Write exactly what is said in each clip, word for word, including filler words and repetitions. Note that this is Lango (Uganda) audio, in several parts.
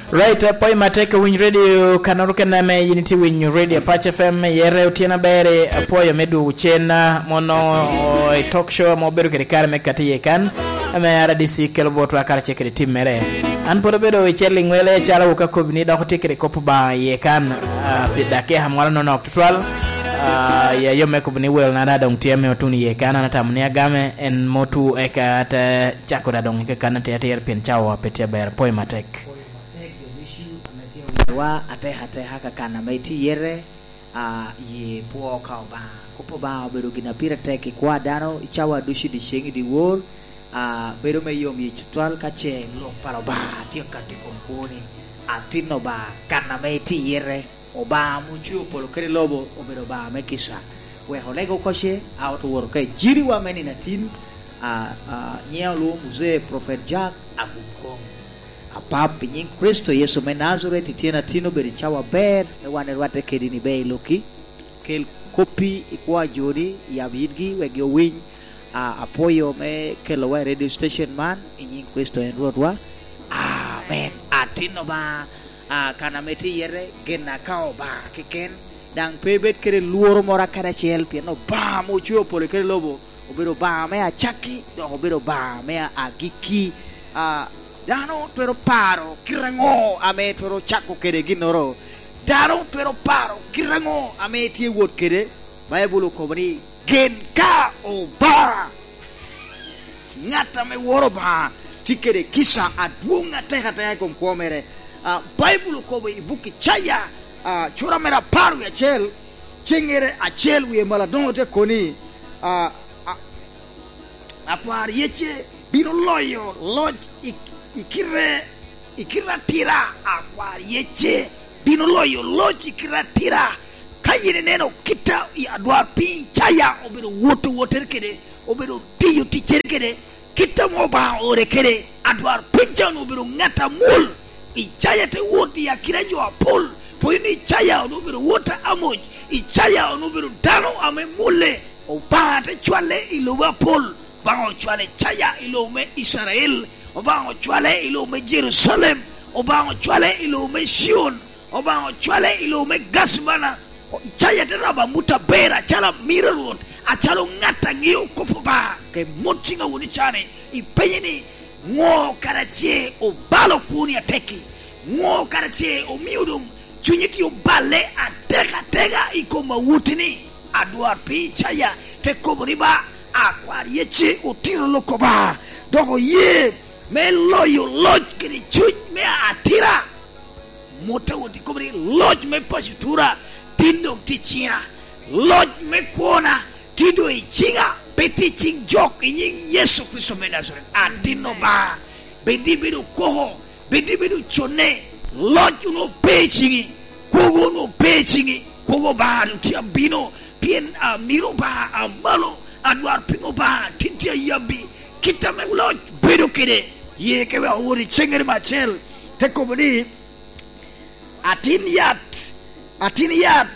Right, apwoyo matek winy radio kanoro kena me yin itye winyo radio Apac F M, yere otyeno aber, apwoyo me dwogo cen, ah, mono, oh, i talk show ame obedo kede kare me kati iye kan, ame R D C kelo botwa karacel kede tim mere. An pwod abedo i cel i ŋwele calo wok akobi ni dok otye kede kop Obaŋa iye kan, ah, pi dakika mwalo nonok tutwal. Ah, ya yo me kobo ni wel na da doŋ tye ame otuno iye kan, an atamo ni agame en motu eka te cako da doŋ i kakan atir atir pien cawa pe tye aber. Apwoyo matek. Wa atek ateka ka kan ame itye iye, a, ye pwo ka Obaŋa. Kop Obaŋa obedo gin a pire tek i kwa dano i cawa ducu i dyeceŋ i dyewor, a, bedo me yom yec tutwal ka ce lok pa Obaŋa tye ka ti kom kwoni. Atin Obaŋa, kan ame itye iye, Obaŋa ame ocweo polo kede lobo obedo Obaŋa me kica. Wek oleg oko ce, a, oto woro ka ejiriwa me nino atin, a, a, nyiŋa olwoŋo Muzee Prophet Jack Agum Koŋ. Apap, i nyiŋ Kricito Yecu me Najaret, ityen atin obedo i cawa aber me wan irwatte kedi ni ber i lokki. Kel koppi i kwo a joni, yab yitgi wek gi owiny. A, apwoyo me kelowa i radio station man, i nyiŋ Kricito en Rwotwa. Amen. Atin Obaŋa, a, kan ame tye iye, gin a ka Obaŋa keken, daŋ pe ibed kede lworo moro kadi acel, pien Obaŋa ame ocweo polo kede lobo, obedo Obaŋa me acakki, dok obedo Obaŋa me agikki. A, dano twero paro kite aŋo ame twero cako kede ginnoro? Dano twero paro kite aŋo ame tye wot kede? Baibul okobo ni, "Gen ka Obaŋa." Ŋat ame woro Obaŋa tye kede kica adwoŋ atek ateka i kom kwo mere. A, Baibul okobo i buk Icaya, a, cura mere apar wie acel, ceŋŋere acel wie malo adoŋo te koni, a, a, akwar yece bino loyo loc i, i kite, i kite atira, akwar yece bino loyo loc i kite atira. Ka yin ineno kit a i adwarpiny Icaya obedo woto wottere kede, obedo tiyo ticcere kede, kit ame Obaŋa oore kede, adwarpiny ca onwoŋo obedo ŋat amul. Icaya te wot i akina jo apol, pwod ni Icaya onwoŋo obedo wot a Amoc, Icaya onwoŋo obedo dano ame mulle. Obaŋa te cwale i lobo apol. Obaŋa ocwalo Icaya i lobo me Icrael, Obaŋa ocwale i lobo me Jerucalem, Obaŋa ocwale i lobo me Cion, Obaŋa ocwale i lobo me Gacmana. O, Icaya te rabo amut aber acalo amiro a Rwot, acalo ŋat a ŋeo kop Obaŋa. Ka imot ciŋ awot i can-ni, ipenye ni, "Ŋo kara ce obalo kwoni atekki? Ŋo kara ce omio doŋ cunye tye oballe atek ateka i kom awot-ti-ni?" Adwarpiny Icaya te kobo ni, "Ba, akwar yece otito lok Obaŋa, dok oye me loyo loc kede cuny me atira." Mot a wot ikobo ni, "Loc me paco tura tin doŋ tye i ciŋa. Loc me kwona tin doŋ i ciŋa, pe tye i ciŋ jok, i nyiŋ Yecu Kricito me Najaret." Atin Obaŋa, bed ni ibedo koko, bed ni ibedo conne, loc onwoŋo pe i ciŋi, kwogo onwoŋo pe i ciŋi, kwogo Obaŋa doŋ tye abino, pien amiro Obaŋa amalo, adwarpiny Obaŋa tin tye ayabbi, kit ame loc bedo kede. Ye ke wek owot i ceŋŋere me acel, te kobo ni, "Atin yat, atin yat,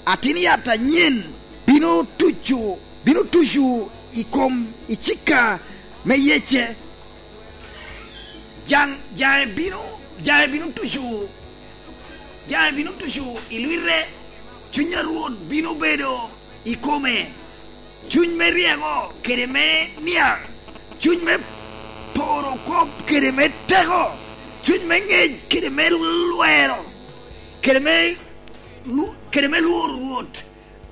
atin yat anyen bino tuco, bino tuco i kom icika me yece. Jaŋ, jaŋe bino, jaŋe bino tuco, jaŋe bino tuco i lwite. Cuny a Rwot bino bedo i kome, cuny me ryeko kede me niaŋ, cuny me poro kop kede me teko, cuny me ŋec kede me lwero, kede me lu-, kede me lworo Rwot.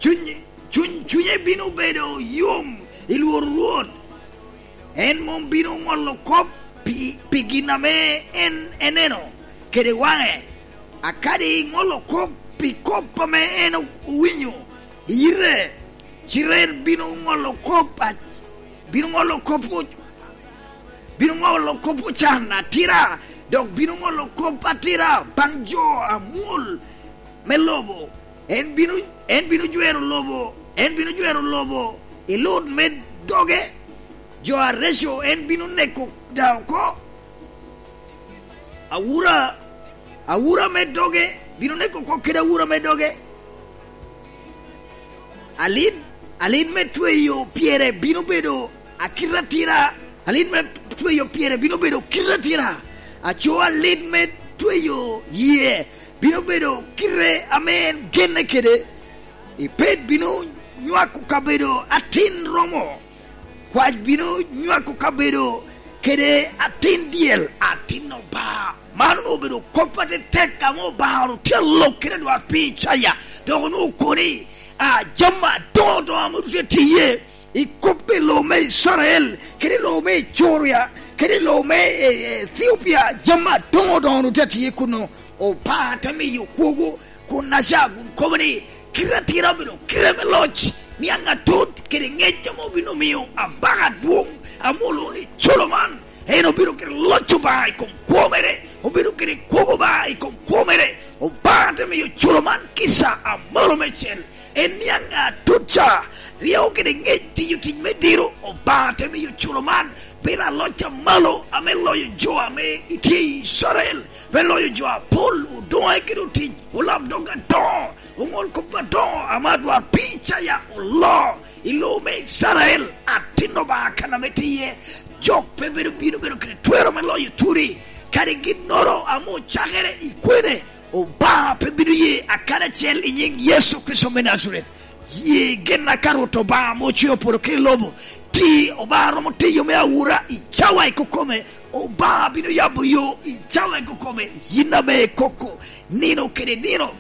Cuny, cuny, cunye bino bedo yom i lworo Rwot. En mom bino ŋolo kop pi, pi gin ame en eneno kede waŋe, akadi ŋolo kop pi kop ame en owinyo i yite, cite en bino ŋolo kop a-, bino ŋolo kop o-, bino ŋolo kop ocan atira, dok bino ŋolo kop atira baŋ jo amwol me lobo. En bino, en bino jwero lobo, en bino jwero lobo i lut me doge. Jo areco en bino neko da oko. Awura, awura me doge bino neko oko kede awura me doge. Alin, alin me tweyo pyere bino bedo akite atira, alin me tweyo pyere bino bedo kite atira. Aco alit me tweyo yie bino bedo kite ame en genne kede. Ebed bino nywako kabedo atin romo. Kwac bino nywako kabedo kede atin dyel, atin Obaŋa. Man onwoŋo obedo kop atetek ame Obaŋa onwoŋo tye alok kede adwarpiny Icaya, dok onwoŋo okobo ni, a, jami adoŋo doŋo ame tye tiye i kop i lobo me Icrael, kede i lobo me Icuria, kede i lobo me, e, e, Ethiopia, jami adoŋo doŋo onwoŋo tye tiye kuno. Obaŋa te miyo kwogo, kun Aca kun kobo ni, kite atira obedo kite me loc, niaŋ atut kede ŋec ame obino miyo abaka adwoŋ ame olwoŋo ni Culoman. En obedo kede loc Obaŋa i kom kwo mere, obedo kede kwogo Obaŋa i kom kwo mere. Obaŋa te miyo Culoman kica amalo meicel. En niaŋ atut ca, ryeko kede ŋec tiyo tic me diro. Obaŋa te miyo Culoman bedo aloc amalo ame loyo jo ame itye i Icrael, me loyo jo apol, odoŋe kede otic, olamdog adoŋo, oŋol kop adoŋo ame adwarpiny Icaya oloo i lobo me Icrael. Atin Obaŋa kan ame tye iye, jok pe bedo bino bedo kede twero me loyo turi, kadi ginnoro ame ocakere i kwene, Obaŋa pe bino ye akadi acel i nyiŋ Yecu Kricito me Najaret. Ye gen ka Rwot Obaŋa ame ocweo polo kede lobo, ti Obaŋa romo tiyo me awura i cawa i kokome. Obaŋa bino yabo yo i cawa i kokome, yin ame ikoko nino kede nino.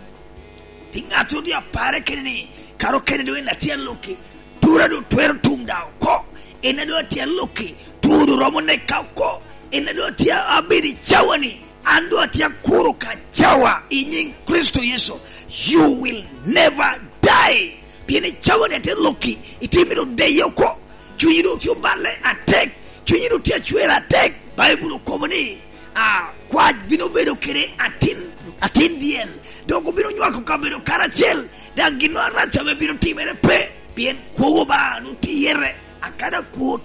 Pi ŋattoro doŋ apare kene ni, kara okene doŋ en atye aloki, tura doŋ twero tum daŋ oko. En a doŋ atye aloki, tura doŋ romo neka oko. En a doŋ atye abedo i cawa-ni, an doŋ atye akuro ka cawa i nyiŋ Kricito Yecu. You will never die. Pien i cawa-ni atye aloki, itye mito deye oko. Cunyi doŋ tye oballe atek, cunyi doŋ tye acwer atek. Baibul okobo ni, a, kwac bino bedo kede atin, atin dyel, dok obino nywako kabedo karacel, daŋ ginnoro arac ame bino timere pe, pien kwogo Obaŋa doŋ tye iye, akada kwo